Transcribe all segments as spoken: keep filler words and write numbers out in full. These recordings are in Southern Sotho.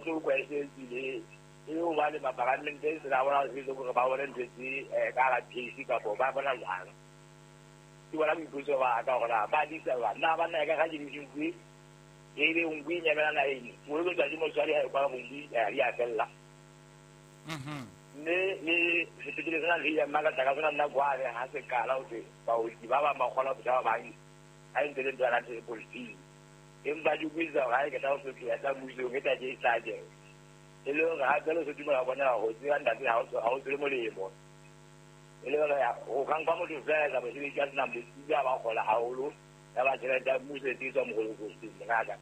Bohloko e se tsile e le hobane mapalamente se la bona se hore ba bone ntho tse ka la P C kapa ba bona jwang. Ke bona boipotso ba ka hore na ba disa ba na ba na ka ga di e le nngwe e nyamela naheng o le tsatsi motswadi ha e kwa nngwe ya fella. Mhm. Mme le sepetlele sena le ya mmakatsa ka sona nna kwale ha se qala ho thwe baoki ba bang ba kgona ho feta ba bang ha e ntse le ntho ya politiki. Empa di buisa hore ha e qeta ho fetoha tsa mmusong e tla ke e hlaje. E le hore hape le se dumela bona ho tseba ntate ha o tswele molemo. E le hore ho ka nka motho feela etsa mosebetsi a senang botsebi a ba kgola haholo ya ba tjhelete ya mmuso e tswa mokolokosing mongaka.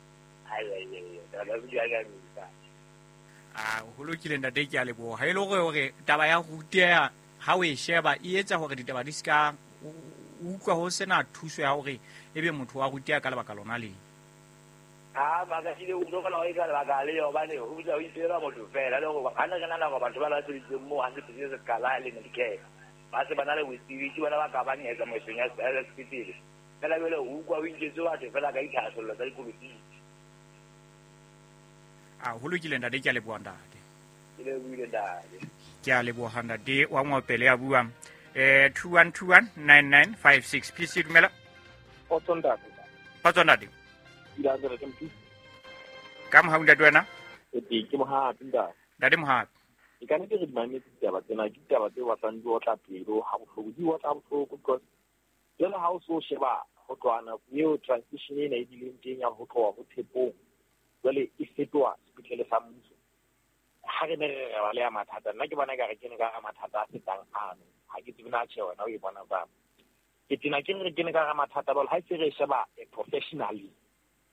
Ai ai ai taba di a nyamisa. A ho lokile ntate, ke a leboha. E le hore hore taba ya ruteha ha o e sheba e etsa hore ditaba di ska o utlwa ho sena thuso ya hore ebe motho wa ruteha ka lebaka lona le. Ha makasile o tlo kgona ho etsa lebaka le hobane ho botsa ho itsela motho fela le hore ha ne re nahana hore batho ba la sebeditseng moo ha sepetlele se qala le Medicare ba se ba na le botsebi ke bona ba ka bang etsa moesong ya sepetlele. Fela jwale o utlwa ho inketse batho fela ka dithahasello tsa dipolotiki. A ho lokile ntate, ke a leboha ntate. Ke lebohile ntate. Ke a leboha ntate wa Ngopele ya buang. Eh two one two one nine nine five six. P C dumela. Kgotso ntate. Kgotso ntate. Ka mohau ntate wena? E teng ke Mohapi ntate. Ntate Mohapi. E ka nnete re di mametse ditaba tsena, ke ditaba tse batlang di otla pelo ha bohloko, di otla bohloko because jwale ha o so sheba ho tloha nako eo transition ena e bileng teng ya ho tloha ho Tshepong jwale e fetoha sepetlele sa mmuso. Ha re ne re re ba le ya mathata, nna ke bona ekare ke ne ka hara mathata a fetang ano. Ha ke tsebe na tjhe wena o e bona jwang. Ke tena ke re ke ne ka hara mathata jwale ha e se re e sheba professionally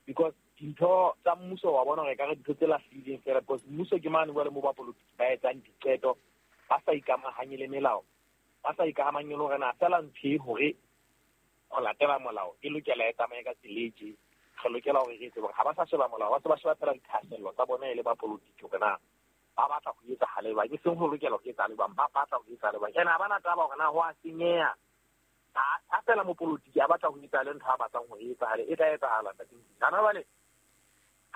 because dintho tsa mmuso wa bona hore ekare dintho tse lahlehileng fela because mmuso ke mane jwale moo bapolotiki ba etsang diqeto ba sa ikamahanye le melao, ba sa ikamahanye le hore na feela ntho e hore ho latela molao e lokela e tsamaye ka tsela e tje. Re lokela hore re etse hore ha ba sa sheba molao, ba se ba sheba fela dithahasello tsa bona e le bapolotiki hore na ba batla ho etsahale jwang, e seng ho lokela ho etsahale jwang, ba batla ho etsahale jwang. Ene ha ba na taba hore na ho a senyeha. Ha fela mopolotiki a batla ho etsahale ntho a batlang ho etsahale, e tla etsahala ntate. Hana jwale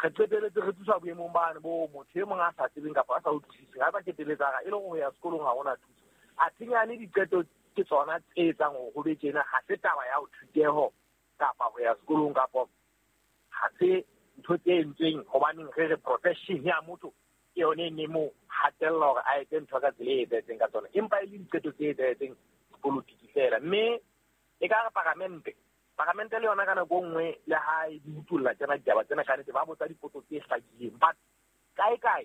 re qeteletse re thuswa boemong bane bo motho e mong a sa tsebeng kapa a sa utlwisiseng, ha ba keteletsa e le hore ho ya sekolong ha hona thuso. Athe diqeto ke tsona tse etsang hore ho be tjena, ha se taba ya ho thuteho kapa ho ya sekolong kapa ha se ntho tse entsweng hobaneng re re profession ya motho ke yone e ne mo hatella hore a etse ntho ka tsela e etsahetseng ka tsona, empa e le diqeto tse etsahetseng polotiki fela. Mme e ka re paramente paramente le yona ka nako e nngwe le ha e di utulla tsena ditaba tsena ka nnete ba botsa dipotso tse hlakileng, but kae kae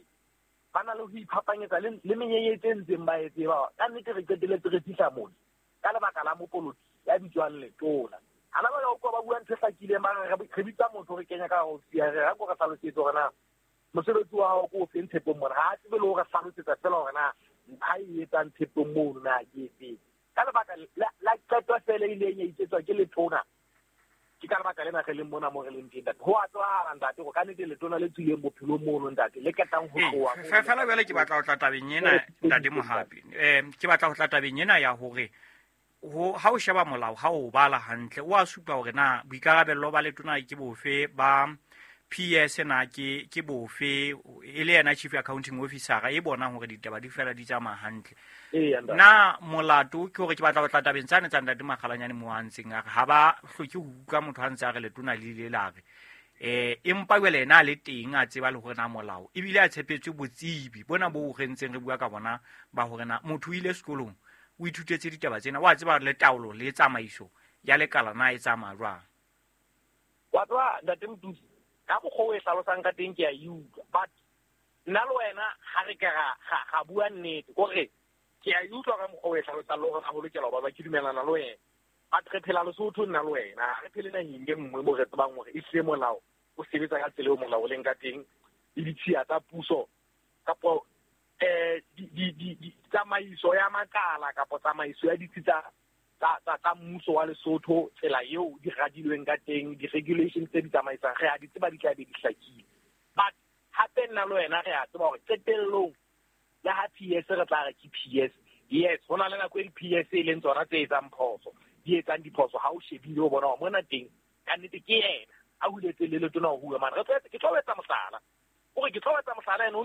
ba na le ho iphapanyetsa le le menyenyetsi e ntseng ba e tseba. Ka nnete re qeteletse re fihla mona ka lebaka la mopolotiki ya bitswang Letona. Hana ba utlwa ba bua ntho e hlakileng, ba re re bitsa motho re kenya ka ho sia re ha ko re hlalosetse hore na mosebetsi wa hao ke o feng Tshepong mona. Ha a tsebe le hore hlalosetsa fela hore na ntho e etsang Tshepong mono na ke efeng. Ka lebaka la qeto fela e ileng ya iketswa ke Letona, ke ka lebaka lena re leng mona mo re leng teng ntate. Ho a tsebahala ntate hore ka nnete Letona le tswileng bophelong mono ntate le ketang ho tloha. Fela jwale ke batla ho tla tabeng ena ntate Mohapi. Eh ke batla ho tla tabeng ena ya hore ho ha o sheba molao ha o bala hantle o a supa hore na boikarabello ba Letona ke bofe, ba P S na ke ke bofe, e le yena chief accounting officer e bonang hore ditaba di fela di tsamaya hantle. Na molato ke hore ke batla ho tla tabeng tsane tsa ntate Makgalanyane mo a ntseng a re ha ba hloke ho utlwa motho a ntse a re Letona le ile la re eh empa jwale yena a le teng a tseba le hore na molao ebile a tshepetswe botsebi bona bo re ntseng re bua ka bona ba hore na motho o ile sekolong o ithutetse ditaba tsena, wa tseba le taolo le tsamaiso ya lekala na e tsamaya jwang. Wa tseba ntate Mothusi, ka mokgwa o e hlalosang ka teng ke a e utlwa, but nna le wena ha re ka ga bua nnete kore ke a e utlwa ka mokgwa o e hlalosang le hore ha ho lokela ho ba ke dumelana le wena, but re phela Lesotho nna le wena, ha re phele naheng e nngwe mo re tsebang hore ehlile molao o sebetsa ka tsela eo molao o leng ka teng le ditshiya tsa puso kapo eh di di di tsamaiso ya makala kapo tsamaiso ya ditsi tsa tsa tsa mmuso wa Lesotho, tsela eo di radilweng ka teng, di-regulations tse di tsamaisang re a di tseba di tla be di hlakile. But hape nna le wena re a tseba hore qetellong le ha P S re tla re ke P S, yes ho na le nako e di-P S e leng tsona tse etsang phoso, di etsang diphoso ha o shebile o bona hore mona teng ka nnete ke yena a huletse le Letona ho bua mane. Re tlo ke tlo etsa mohlala. O re ke tlo etsa mohlala ene.